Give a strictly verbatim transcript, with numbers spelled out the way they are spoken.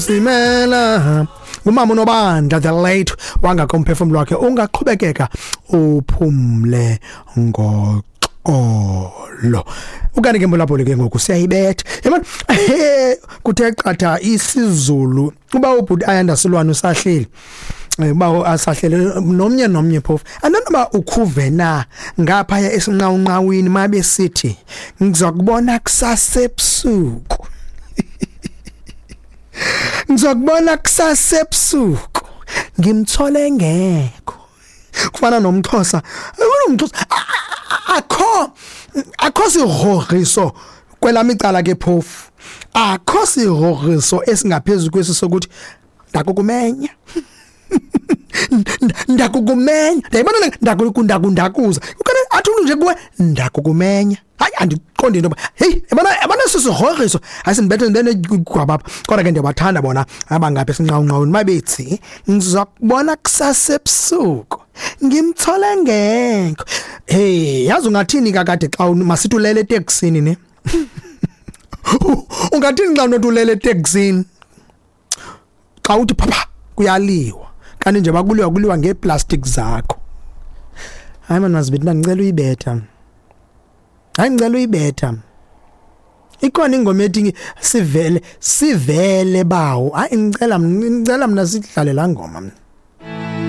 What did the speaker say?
Simela umama uNobandla, the late, wangakomphefumlo wakhe ungaqhubekeka uphumle ngoxolo. Ukanti ke mbulabholi ke ngoku siyayibetha yabona, kuthe qatha isiZulu uba ubhuti Ayanda Silwane usahleli, uba asahlele nomnye nomnye phofu andanoba ukhuve na ngaphaya esinqawunqawini mabe sithi ngizokubona kusasa ebusuku, ngizokubona kusasa ebusuku, ngimthole ngekho. Kufana nomXhosa, unomXhosa akho akho sigrogriso kwelami icala ke phofu, akho sigrogriso esingaphezulu kwesi sokuthi ndakukumenya, ndakukumenya, ndayibona ndakukundakundakuza ukane athi umuntu nje kuwe ndakukumenya. Hayi, andiqondi into yoba hey, yabona yabona sisigrogriso asindibethe ndinegwabapha. Kodwa ke ndiyabathanda bona abangapha esinqawunqawuni mabethi ngizokubona kusasa ebusuku, ngimthole ngekho. Hey, yazi ungathini kakade xa masithi ulele eteksini ne? Ungathini xa unothi ulele eteksini? Xa uthi phapha kuyaliwa, kanti nje bakuliwa kuliwa ngeeplastic zakho. Hayi man, mazibithi ndicela uyibetha. Hayi, ngicela uyibetha. Ikhona ingoma ethi sivele sivele bawo. Hayi, ngicela ngicela mina sidlale la ngoma.